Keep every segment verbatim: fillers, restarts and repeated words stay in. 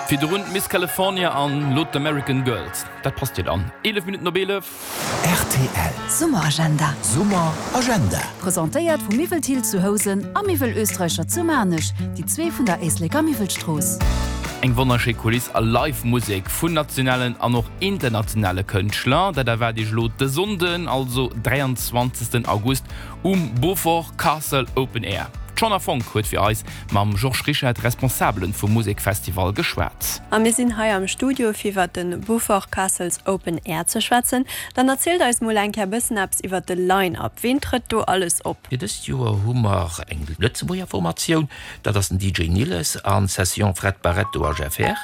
Virdrun Miss California an lo d'American Girls. Dat passt jo dann. Eelef Minutten op eelef. Rtl. Summeragenda. Summeragenda. Presentéiert vu Miwwel Thill zu Housen a Miwwel Österreicher zu Maarnech, déi zwee vun der Éisleker Miwwelstrooss. Eng wonnerschéi Kuliss a Live Musek vun nationalen an och internationale Kënschtler. Dat erwaart iech elo de Sonnden, also dräianzwanzegsten August um Beaufort Castle Open Air. D'Shona Fonck huet fir eis mam Georges Rischette, Responsabelen vum Musekfestival, geschwat. A mir sinn hei am Studio fir iwwer de Beaufort Castles Open Air ze schwätzen. Dann erzielt eis mol eng Kéier bëssen eppes iwwer de Line-Up. Wien trëtt do alles op? Fir dëst Joer hu mer eng Lëtzebuerger Formatioun, dat ass den D J Niles an Session Fred Barretto a Jeff Herr.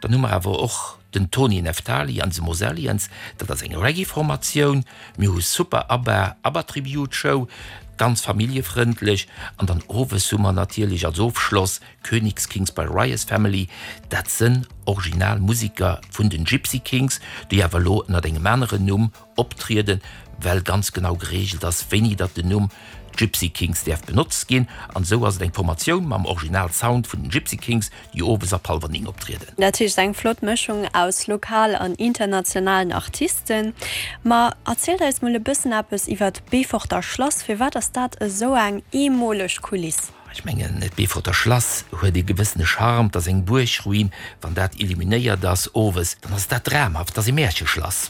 Dann hu mer awer och den Tony Neftali an The Mosellians, dat ass eng Reggae-Formatioun. Mir hu Super ABBA, ABBA Tribute Show, ganz familljefrëndlech, an dann owes hu mer natierlech als Ofschloss Königskings by Rias Family, dat sinn original Museker vun den Gipsy Kings, déi awer elo ënner engem aneren Numm optrieden, well ganz genau gereegelt ass, wéini datt den Numm Gipsy Kings däerf benotzt ginn, an esou ass et eng Formatioun mam Original Sound vun den Gipsy Kings, déi owes ab hallwer néng optrieden. Dat heescht eng flott Mëschung aus lokal an internationalen Artisten. Ma erzielt eis mol e bëssen eppes iwwer d'Beeforter Schlass. Firwat ass dat esou eng eemoleg Kuliss? Ech mengen, d'Beeforter Schlass huet e gewëssene Charme, 't ass eng Buergruin, wann dat illuminéiert ass owes, dann ass dat dramhaft, 't ass e Märcheschlass.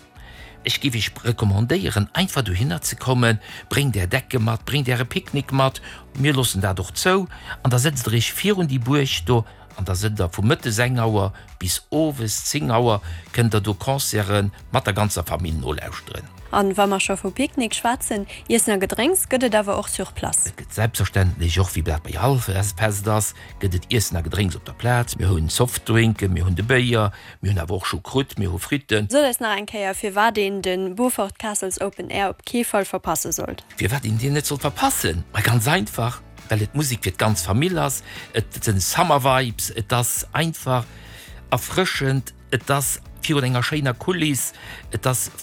Ech géif iech recommandéieren, einfach dohinner ze kommen, bréngt är Decke mat, bréngt äre Picknick mat, mir loossen dat och zou, an da sëtzt der iech virun déi Buerg do an da sënnt der vu mëttes eng Auer bis owes zéng Auer, kënnt der do Concerte mat der ganzer Famill nolauschteren. An wa mer scho vu Picknick schwätzen, Iessen a Gedrénks gëtt et awer och sur place? Et gëtt selbstverständlech och, wéi dat bei all Fest ass, gëtt et Iessen a Gedrénks op der Plaz. Mir hunn Softdrinken, mir hunn de Béier, mir hunn awer och Choucroute, mir hu Fritten. Sot eis nach eng Kéier, firwat een de Beaufort Castles Open Air op kee Fall verpasse sollt. Firwat een deen net sollt verpassen? Ma ganz einfach, well et Musek fir d'ganz Famill ass, et sinn Summer Vibes, et ass einfach erfrëschend, et ass virun enger schéiner Kuliss, et ass